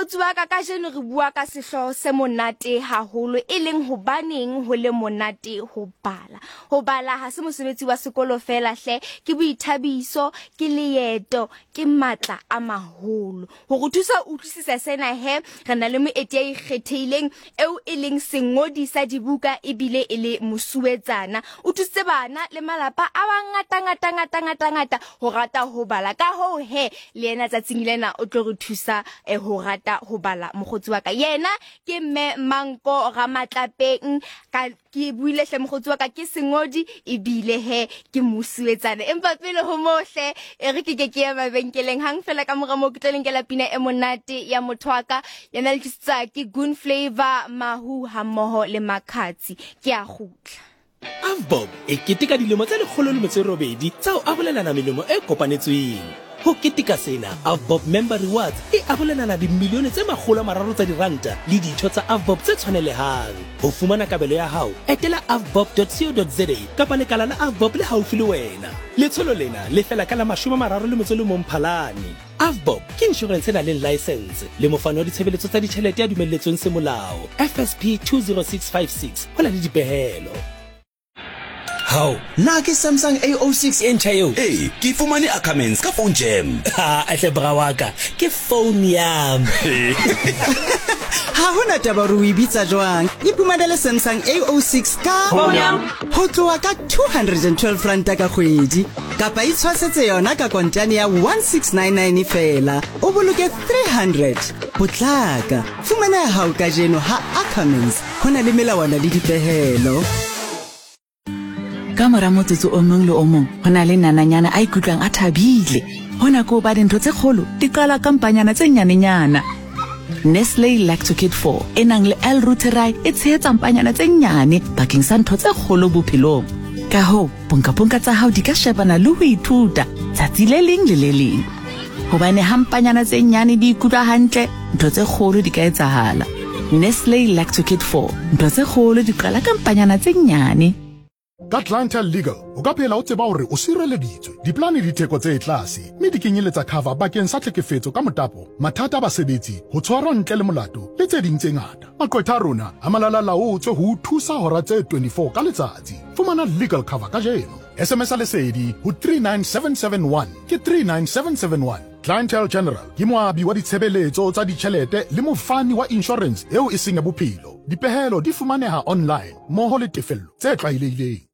Mokgotsi wa ka, kajeno re bua ka sehlooho se monate haholo, e leng hobaneng ho le monate ho bala. Ho bala ha se mosebetsi wa sekolo feela hle, ke boithabiso, ke leeto, ke matla a maholo. Ho re thusa ho utlwisisa sena he, re na le moeti ya ikgethehileng eo e leng sengodi sa dibuka ebile e le mosuwetsana. O thusitse bana le malapa a mangata ngata ngata ngata ngata ho rata ho bala. Ka hoo he, le yena tsatsing lena o tlo re thusa eh, ho rata ho bala mokgotsi wa ka. Yena ke Mme Manko Ramatlapeng ka Ke buile hle mokgotsi wa ka, ke sengodi ebile he ke mosuwetsana. Empa pele ho moo hle, e re ke ke ke ya mabenkeleng hang fela ka mora moo ke tlo le nkela pina e monate ya motho wa ka. Yona le tlisetswa ke Goon Flavor, Mahu hammoho le Makhadzi. Ke a kgutla. AVBOB e keteka dilemo tse 108 tsa ho arolelana melemo e kopanetsweng. Ho keteka sena, AVBOB Member Rewards e arolelana dimilione tse 300 tsa diranta le ditho tsa AVBOB tse tshwanelehang. Ho fumana kabelo ya hao, etela avbob.co.za kapa lekala la AVBOB le haufi le wena. Letsholo lena le fela ka la 31 Mphalane. AVBOB ke inshorense e nang le laesense le mofani wa ditshebeletso tsa ditjhelete ya dumelletsweng semolao, FSP 20656, ho na le dipehelo. Hao, na ke Samsung A06 e ntjha eo? Ee, ke e fumane Ackermans ka Phone Jam. Ha, hle bra wa ka, ke phone yam. Ha ho na taba hore o e bitsa jwang. Iphumanele Samsung A06 ka Phone yam. Ho tloha ka 212 ranta ka kgwedi. Kapa itshwasetse yona ka kontane ya 1699 feela, o boloke 300. Potlaka, fumana ya hao kajeno ha Ackermans. Ho na le melawana le dipehelo. Ka mora motsotso o mong le o mong ho na le nananyana a ikutlwang a thabile. Hona ke hoba dintho tse kgolo di qala ka mpanyana tse nyanenyana. Nestle Lactokid 4 e nang le L-Reuteri e tshehetsa mpanyana tse nyane bakeng sa ntho tse kgolo bophelong. Ka hoo, ponkaponka tsa hao di ka shebana le ho ithuta tsatsi le leng le le leng. Hobane ha mpanyana tse nyane di ikutlwa hantle, ntho tse kgolo di ka etsahala. Nestle Lactokid 4, ntho tse kgolo di qala ka mpanyana tse nyane. Ka Clientele Legal, o ka phela o tseba hore o sireleditswe. Dipolane di theko tse tlase, mme di kenyeletsa cover bakeng sa tlhekefetso ka motapo, mathata a basebetsi, ho tshwarwa ntle le molato, le tse ding tse ngata. Maqwetha a rona a malala-laotswe ho o thusa hora tse 24 ka letsatsi. Fumana legal cover kajeno. SMS-a Lesedi ho 39771 ke 39771. Clientele General ke moabi wa ditshebeletso tsa ditjhelete le mofani wa inshorense eo e seng ya bophelo. Dipehelo di fumaneha online mmoho le tefello tse tlwaelehileng.